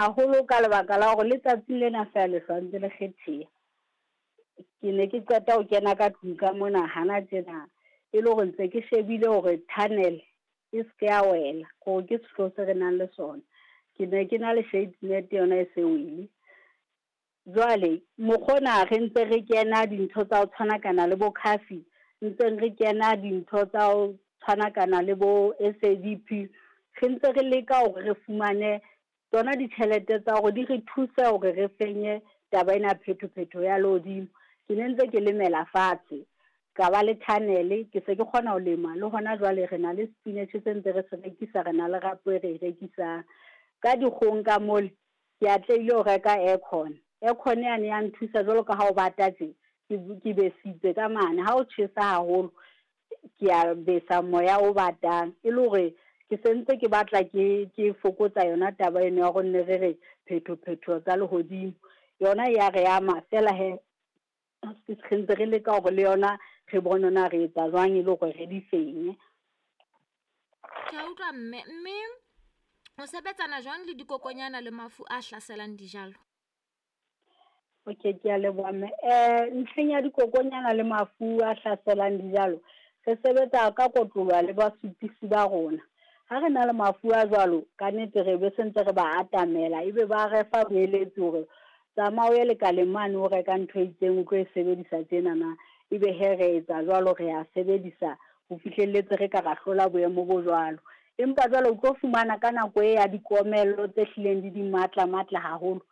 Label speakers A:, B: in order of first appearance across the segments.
A: Haholo ka lebaka la hore letsatsing lena feela lehlwa ntse le kgetheha. Ke ne ke qeta ho kena ka tlung ka mona hana tjena, e le hore ntse ke shebile hore tunnel e seke ya wela, hore ke sehloho se re nang le sona. Ke ne ke na le shade net yona e se wele. Jwale mokgwa ona re ntse re kena dintho tsa ho tshwanakana le bo CAFI, ntseng re kena dintho tsa ho tshwanakana le bo SADP, re ntse re leka hore re fumane tsona ditjhelete tsa hore di re thuse hore re fenye taba ena ya phetho-phetho ya lehodimo. Ke ne ntse ke lemela fatshe, ka ba le tunnel, ke se ke kgona ho lema le hona jwale re na le spinach se ntse re se rekisa, re na le rapo e re e rekisang. Ka dikgohong ka mole, ke atlehile ho reka aircon. Aircon yane ya nthusa jwalo ka ha o bata tje, ke besitse ka mane, ha o tjhesa haholo ke a besa moya o batang, e le hore ke sentse ke batla ke fokotsa yona taba eno ya hore nne re re phetho-phetho tsa lehodimo. Yona ya re ama fela he, re ntse re leka hore le yona re bone na re etsa jwang e le hore re di fenye.
B: Ke a utlwa mme, mme o sebetsana jwang le dikokonyana le mafu a hlaselang dijalo?
A: Okay, ke a leboha mme. Ntlheng ya dikokonyana le mafu a hlaselang dijalo, re sebetsa ka kotloloha le basupisi ba rona. Ha re na le mafu a jwalo, ka nnete re be sentse re ba atamela, ebe ba re fa boeletsi hore tsamaya o ye lekaleng mane o reka ntho e itseng o tlo e sebedisa tjenana. Ebe he re etsa jwalo, re a sebedisa ho fihlelletse re ka ra hlola boemo bo jwalo. Empa jwale o tlo fumana ka nako e ya dikomello tse hlileng di di matla matla haholo,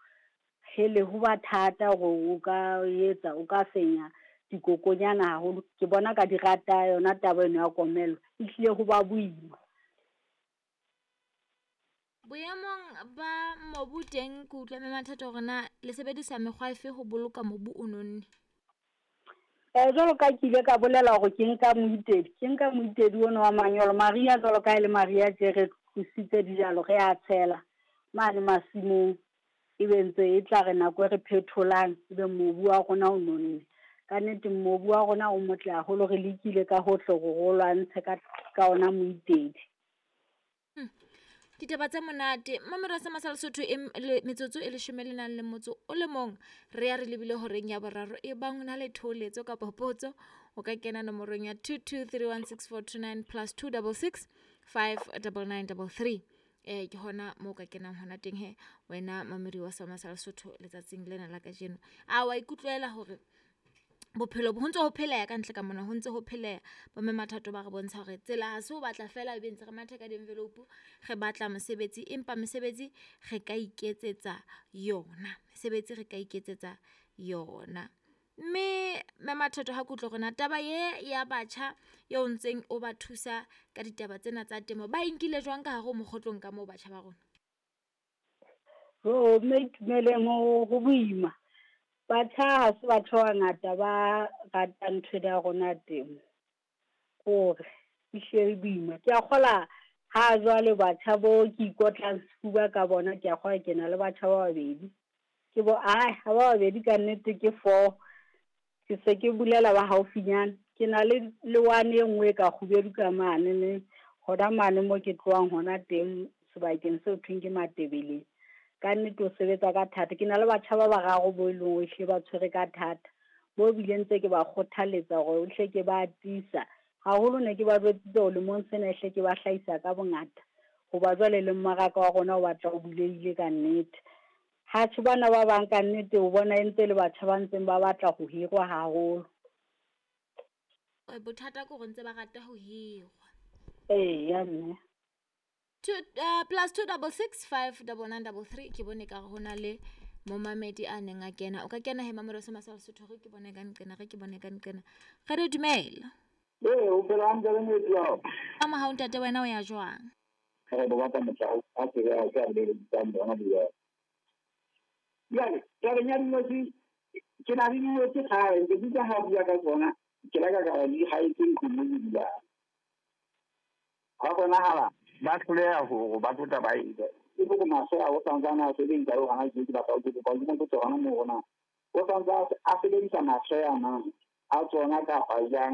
A: hele ho ba thata hore o ka etsa, o ka fenya dikokonyana haholo. Ke bona ka di rata yona taba eno ya komello, ehlile ho ba boima.
B: Boemong ba mobu teng, ke utlwa Mme Mathatho hore na le sebedisa mekgwa efe ho boloka mobu o nonne?
A: Jwalo ka ke ile ka bolela hore ke nka moitedi, ke nka moitedi ono wa manyolo. Mariha jwalo ka ha e le mariha tje re tlositse dijalo, re a tshela mane masimong. Ebe ntse e tla re nako e re phetholang, ebe mobu wa rona o nonne. Ka nnete mobu wa rona o motle haholo, re lekile ka hohle hore re o lwantshe ka ona moitedi.
B: Ditaba tse monate mamelo sa Masala Sotho e metsotso e leshome le nang le motso o le mong, re ya re lebile horeng ya boraro. E bang o na le thoholetso kapa potso, o ka kena nomorong ya 22316429 plus 266 59933. Ke hona moo ka kenang hona teng he wena mamedi wa sa Masala Sotho letsatsing lena la kajeno. A wa ikutlwela hore bophelo ho ntse ho pheleha ka ntle ka mona, ho ntse ho pheleha. Bo Mme Mathatho ba re bontsha hore tsela ha se ho batla fela ebe ntse re matha ka di-envelope re batla mosebetsi, empa mesebetsi re ka iketsetsa yona, mesebetsi re ka iketsetsa yona. Mme Mme Mathatho ha ke utlwe hore na taba ye ya batjha eo ntseng o ba thusa ka ditaba tsena tsa temo, ba e nkile jwang ka hare ho mokgotlong ka moo batjha ba rona?
A: Jo, mme Itumeleng ho boima. Batjha ha se batho ba bangata ba ratang ntho ena ya rona temo, hore ehlile e boima. Ke a kgola ha jwale batjha bo ke ikotlang sefuba ka bona, ke a kgola ke na le batjha ba babedi. Ke bo, ae ha ba babedi ka nnete ke four. Ke se ke bolela ba haufinyana. Ke na le le one e nngwe e ka kgubedu ka mane ne, hona mane mo ke tlohang hona teng sebakeng seo thweng ke Matebeleng. Ka nnete o sebetsa ka thata. Ke na le batjha ba bararo bo e leng hore ehlile ba tshwere ka thata. Bo bile ntse ke ba kgothaletsa hore hle ke ba tiisa. Haholo ne ke ba jwetsitse hore lemong sena ehle ke ba hlahisa ka bongata. Hoba jwale le mmaraka wa rona o batla o bulehile ka nnete. Ha tjhe bana ba bang ka nnete o bona e ntse le batjha ba ntseng ba batla ho hirwa haholo.
B: Bothata ke hore ntse ba rata ho hirwa.
A: Eya mme.
B: Plus 266 59933. Ke bone ka hore ho na le momamedi a neng a kena. O ka kena he mamelo se Masala Sotho, re ke bone ka nqena, re ke bone ka nqena. Re re dumela.
C: Ee, o phela hantle le moeti wa hao?
B: Ka mohau ntate, wena o ya jwang?
C: Re bo batla motho a tsebe a tla le tsang bona bua. Jwale, tabeng ya dinotshi, ke na le dinotshi kgale, ke dutse ha bua ka tsona, ke la ka ka di haetse ntlong mo ke dulang. Ha bonahala ba hloleha hore ba tlo tla ba e ja. E bo maswe a o santsane a sebedisa le hona tje, ke batla ho kopa ke mo botse hona moo hore na o santse a sebedisa maswe ana a tsona kapa jwang.